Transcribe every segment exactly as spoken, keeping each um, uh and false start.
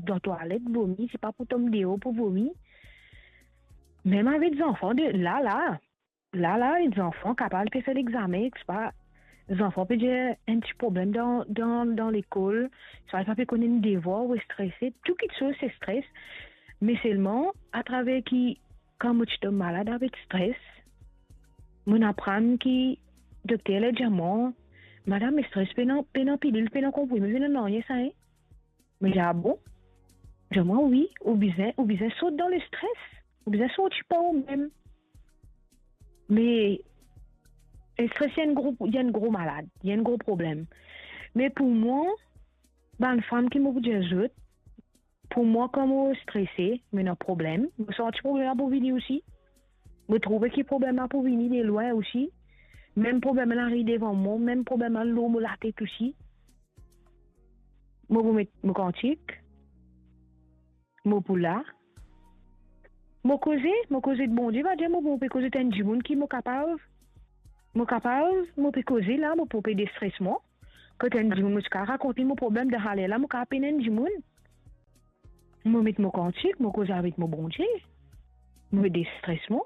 dan twalet, vomi, se pa pou tom deor pou vomi. Mem avek zanfan de la, la, la, la, zanfan kapav pe fer lexame, se pa, zanfan pe dir enn ti problem dan, dan, dan lekol, swa li pa pe konn enn devwar ou strese, tou kitsoz se stres. Me selman, atraver ki, kan mo ti tom malad avek stres, mo'nn aprann ki dokter la dir mwa, "Madam, stres pena, pena pilil, pena konprime, pena nanye sa, hein." Mo dir, "Ah bon?" Dir mwa, "Wi, ou bizin, ou bizin sort dan lestres, ou bizin sorti par ou mem." Me stres, li enn gro, li enn gro malad, li enn gro problem. Me pou mwa, bann fam ki mo pou dir zot, pou mwa, kan mo strese, mo ena problem, mo santi problem la pou vini osi. Mo trouve ki problem la pou vini de lwin osi. Mem problem la ariv devan mwa, mem problem la lor mo latet osi. Mo pou met mo kantik, mo pou la, mo koze, mo koze ek Bondie, pa dir mo, mo pe koze ek enn dimoun ki mo kapav, mo kapav, mo pe koze la, mo pou pe destres mwa. Kot enn dimoun, mo ti kapav rakont li mo problem dan haler la, mo kapav apel enn dimoun. Mo met mo kantik, mo koze avek mo Bondie, mo destres mwa.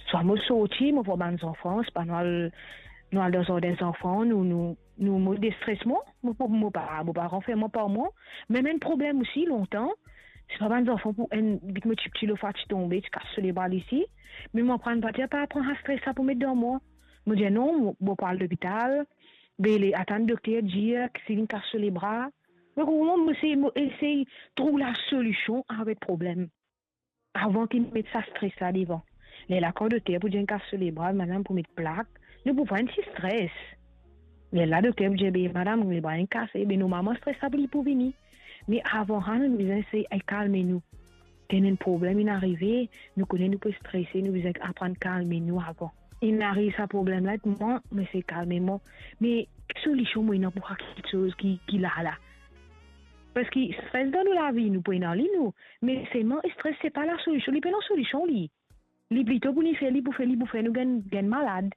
Swa mo sorti, mo vwar bann zanfan, swa nou al, nou al dan zardin zanfan, nou, nou, nou, mo destres mwa, mo, mo, mo pa, mo pa ranferm mwa par mwa. Me mo ena enn problem osi lontan, se pa bann zanfan pou enn, bit mo tipti, lor fwa ti tonbe, ti kas so lebra li isi. Me mo aprann pa dir, pa pran sa stres la pou met dan mwa. Mo dir non, mo, mo pou al lopital, be le, atann dokter dir ki si linn kas so lebra. Mo konpran, mo se, mo esey trouv lasolision avek problem. Avan ki met sa stres la devan. Lerla kan dokter pou dir inn kas so lebra, madam pou met plak, nou pou vwar enn ti stres. Lerla dokter pou dir, "Be madam, lebra inn kase," be normalman stres la pou li pou vini. Me avan sa, nou bizin esey kalme nou. Kan enn problem inn arive, nou kone nou pe strese, nou bizin aprann kalme nou avan. Inn ariv sa problem la, mwa, mo esey kalme mwa. Me ki solision mo ena pou sa kiksoz ki, ki la la? Paski stres dan nou lavi, nou pou ena li nou. Me selman, stres se pa lasolision, li pena solision li. Li plito pou li fer, li pou fer, li pou fer nou gagn, gagn malad.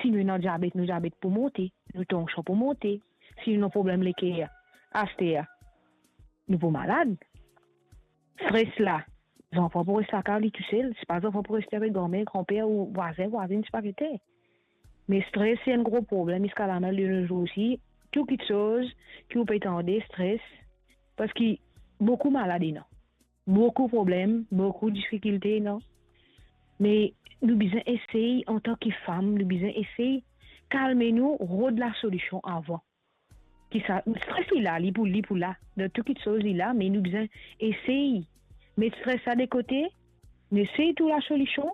Si nou ena diabet, nou diabet pou monte, nou tansion pou monte. Si nou ena problem leker, aster, nou pou malad. Stres la, zanfan pou res lakaz li tousel, se pa zanfan pou reste avek granmer, granper ou vwazin, vwazinn, se pa ki te. Me stres se enn gro problem ziska lamem de nos jours osi. Tou kiksoz ki ou pe tande, stres, paski boukou malad ena, boukou problem, boukou difikilte ena. Me nou bizin esey, antan ki fam, nou bizin esey kalme nou, rod lasolision avan. Ki sa, stres li la, li pou, li pou la. Dan tou kiksoz li la, me nou bizin esey met stres la de kote, nou esey trouv lasolision.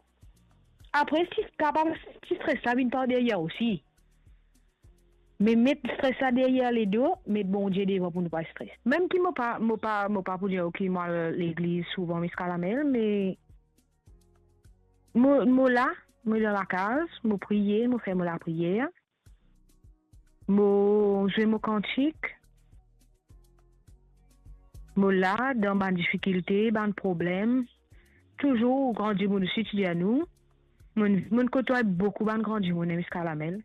Apre, si kapav, si stres la vinn par deryer osi, me met stres la deryer ledo, met Bondie devan pou nou pa stres. Mem ki mo pa, mo pa, mo pa pou dir, ok, mo al legliz souvan ziska lamem, me mo, mo la, mo dan lakaz, mo priye, mo fer mo lapriyer. Mo zwe mo kantik. Mo la dan bann difikilte, bann problem. Touzour gran dimoun osi ti dir nou. Mo'nn, mo'nn kotway boukou bann gran dimoun, ziska lamem.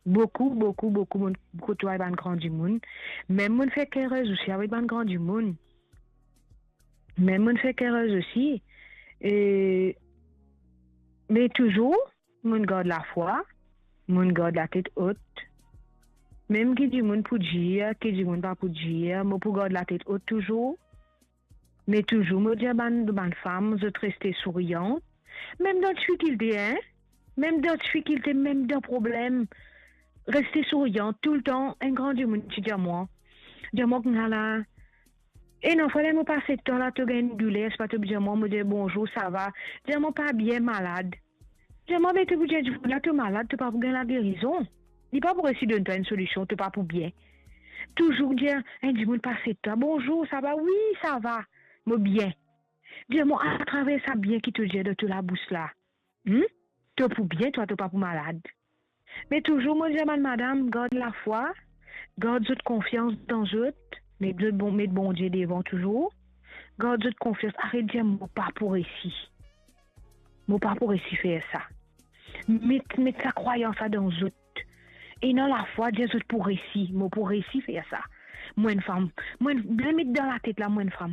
Boukou, boukou, boukou mo'nn kotway bann gran dimoun. Mem mo'nn fer kerez osi avek bann gran dimoun. Mem mo'nn fer kerez osi. E, me touzour, mo'nn gard lafwa, mo'nn gard latet ot. Mem ki dimoun pou dir, ki dimoun pa pou dir, mo pou gard latet ot touzour. Me touzour, mo dir bann, bann fam, zot reste souriyan. Mem dan difikilte, hein? Mem dan difikilte, mem dan problem, reste souriyan toultan. Enn gran dimoun ti dir mwa, dir mwa koumsa la, e non, fode mo pase tan la, to gagn enn douler, se pa to dir mwa, mo dir bonzour, sava. Dir mwa pa bien, malad. Dir mwa, be to pou dir dimoun la to malad, to pa pou gagn lagerizon. Li pa pou resi donn twa enn solision, to pa pou bien. Touzour dir enn dimoun pase twa, bonzour, sava? Wi, sava, mo bien. Dir mwa, atraver sa bien ki to dir dan to labous la, hmm? To pou bien, twa, to pa pou malad. Me touzour mo dir bann madam, gard lafwa, gard zot konfians dan zot, met zot bon, met Bondie devan touzour. Gard zot konfians, aret dir mo pa pou resi. Mo pa pou resi fer sa. Met, met sa krwayans la dan zot. Ena lafwa, dir zot pou resi, mo pou resi fer sa. Mo enn fam, mo enn, bien met dan latet la, mo enn fam